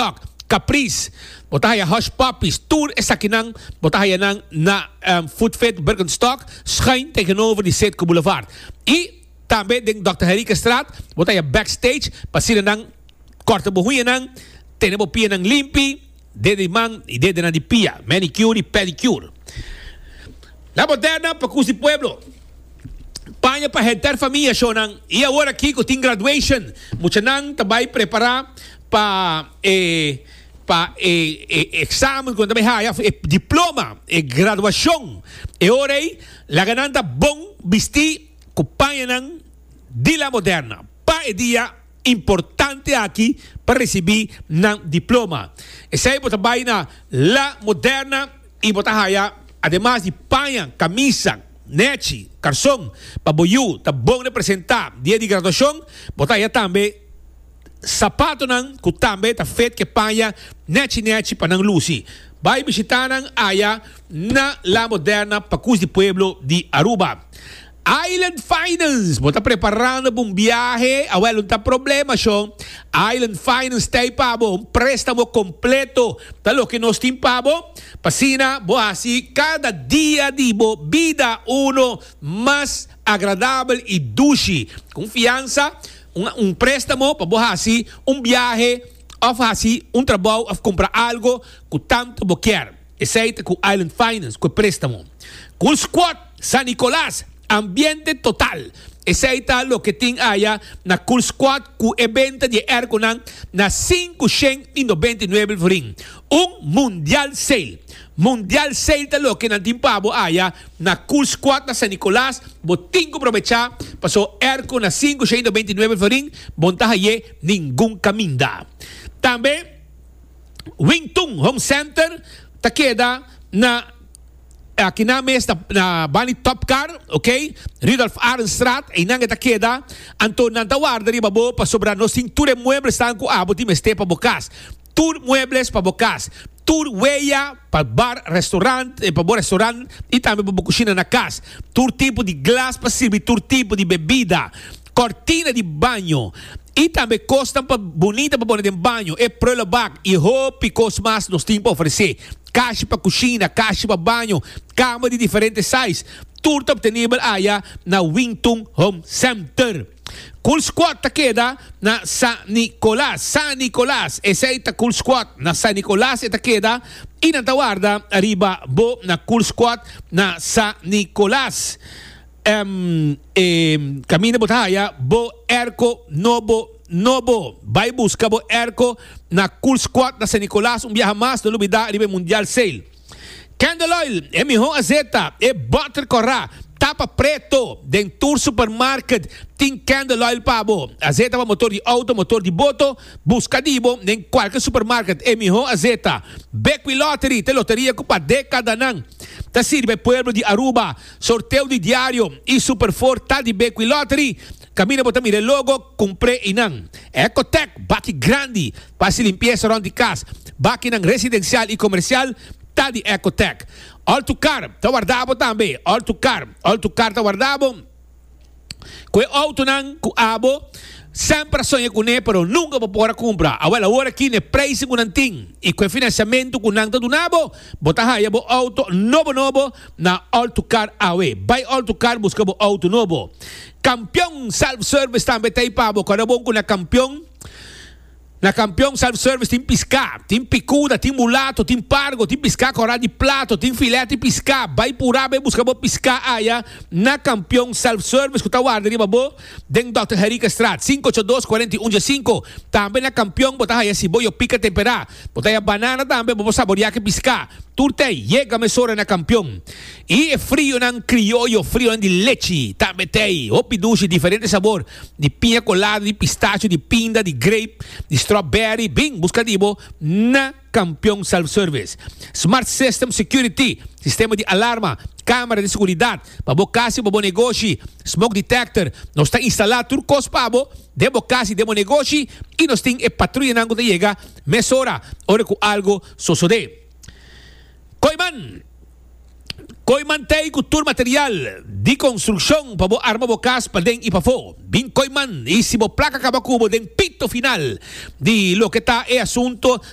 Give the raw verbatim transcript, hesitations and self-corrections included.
Birkenstock, Caprice, bo ta haya Hush Puppies, tur esakinan, bo ta haya nan na um, Footfit Birkenstock, schuin tegenover di Citgo Boulevard. Y tambe den Doctor Henriquezstraat, bo ta haya Backstage, pa asina nan corta bo huñanan, tene bo pianan limpi, dede man y dede nan di pia, manicure y pedicure. La Moderna pa di pueblo. Paña pa henter famia, shonnan. Y awor aki cu tin graduation. Muchanan tambe prepara pa eh, pa eh, eh, examen cu tambe haya eh, diploma, eh, graduacion. E ora ey, laga nan ta bon bisti cu pañanan di La Moderna. Pa e dia importante aki pa recibi nan diploma. Esey bo ta bay na La Moderna y bo ta haya ademas di paña, camisa, nechi, carson, pa bo yiu ta bon representa dia di graduacion, bo ta haya tambe sapatonan cu tambe ta fit cu paña nechi nechi pa nan luci. Bay bishita nan aya na La Moderna pa di pueblo di Aruba. Island Finance, bo ta preparando pa un biahe, awel, no ta problema, shon. Island Finance tin pa bo un prestamo completo, ta loke nos tin pa bo. Pa asina, bo haci cada dia di bo bida uno mas agradabel y dushi. Confiansa, un, un prestamo pa bo haci un biahe, of haci un trabou, of cumpra algo cu tanto bo kier. Esey ta cu Island Finance, cu prestamo. Cool Squad, San Nicolas, ambiente total. Esey ta loke tin aya na Cool Squad cu e venta di airco na cinco shen y nobenta y nuebe florin. Un mundial sale. Mundial sale ta loke nan tin pa bo aya na Cool Squad na San Nicolas. Bo tin cu aprovecha paso airco na cinco shen y nobenta y nuebe florin. Bo n' ta haye ningun caminda. Tambe Wingtung Home Center ta keda na aki na mes na, na banda di Top Car, ok? Rudolf Arendstraat, y nan ta keda, anto nan ta warda riba bo pasobra nos tin tur muebles cu abo tin mester pa bo cas. Tur muebles pa bo cas. Tur weya pa bar, restaurant, eh, pa bo restaurant y tambe pa bo cushina na cas. Tur tipo di glas pa sirbi, tur tipo di bebida. Cortina di baño. Y tambe cos pa bunita pa pone den baño. E prullenbak y hopi cos mas nos tin pa ofrece. Cashi pa cushina, cashi pa baño, cama di diferente size. Tur ta obtenibel aya na Wington Home Center. Cool Squad ta keda na San Nicolas. San Nicolas. Esey ta Cool Squad na San Nicolas ta keda. Y nan ta warda riba bo na Cool Squad na San Nicolas. Um, eh, caminda bo ta haya bo airco nobo nobo. Bay busca bo airco na Cool Squad na San Nicolas. Un biaha mas, no lubida riba Mundial Sale. Candle Oil, e miho azeta, e butter cora, tapa preto, den tur supermarket, tin Candle Oil pa bo. Azeta pa motor di auto, motor di boto, busca di bo den cualkier supermarket, e miho azeta. Bequi Lottery, ta loteria cu pa decadanan ta sirbi pueblo di Aruba. Sorteo di diario y Super four ta di Bequi Lottery. Caminda bo ta mira logo, cumpra einan. Ecotech, baki grandi, pa limpiesa rond di cas. Bakinan residencial y comercial, ta di Ecotech. All to Car, ta warda bo tambe. All to Car, All to Car ta warda bo. Cu autonan cu abo semper a soña cune, pero nunca bo por a cumpra. Awel, awor aki e prijs cu nan tin y cu financiamento cu nan ta duna bo, bo ta haya bo auto nobo nobo na All to Car awe. Bay All to Car, busca bo auto nobo. Campeon Self Service tambe t'ey pa bo. Ora bon cu na Campeon Na Campeon Self Service tin pisca, tin picuda, tin mulato, tin pargo, tin pisca cora di plato, tin filete pisca. Bay pura, bay busca bo pisca aya na Campeon Self Service cu ta warda riba bo den Doctor Henriquezstraat cinco ocho dos cuarenta y un cinco. Tambe na Campeon bo ta haya siboyo pica tempera. Bo ta haya banana tambe, bo saborea cu pisca. Tur t'ey, yega mesora na Campeon. Y frionan crioyo, frio di lechi, tambe t'ey. Hopi dushi, diferente sabor, di piña colada, di pistacho, di pinda, di grape, di strawberry. Bin, busca di bo na Campeon Self Service. Smart System Security, sistema di alarma, camera di seguridad, pa bo cas, pa bo negoshi, smoke detector, nos ta instala tur cos pa bo, den bo cas, den bo negoshi, y nos tin e patruyanan cu ta yega mesora, ora cu algo sucede. Kooyman, Kooyman t'ey cu tur material di construccion pa bo arma bo cas paden y pafo. Bin Kooyman y si bo placa caba cu bo den pito final di loke ta e asunto.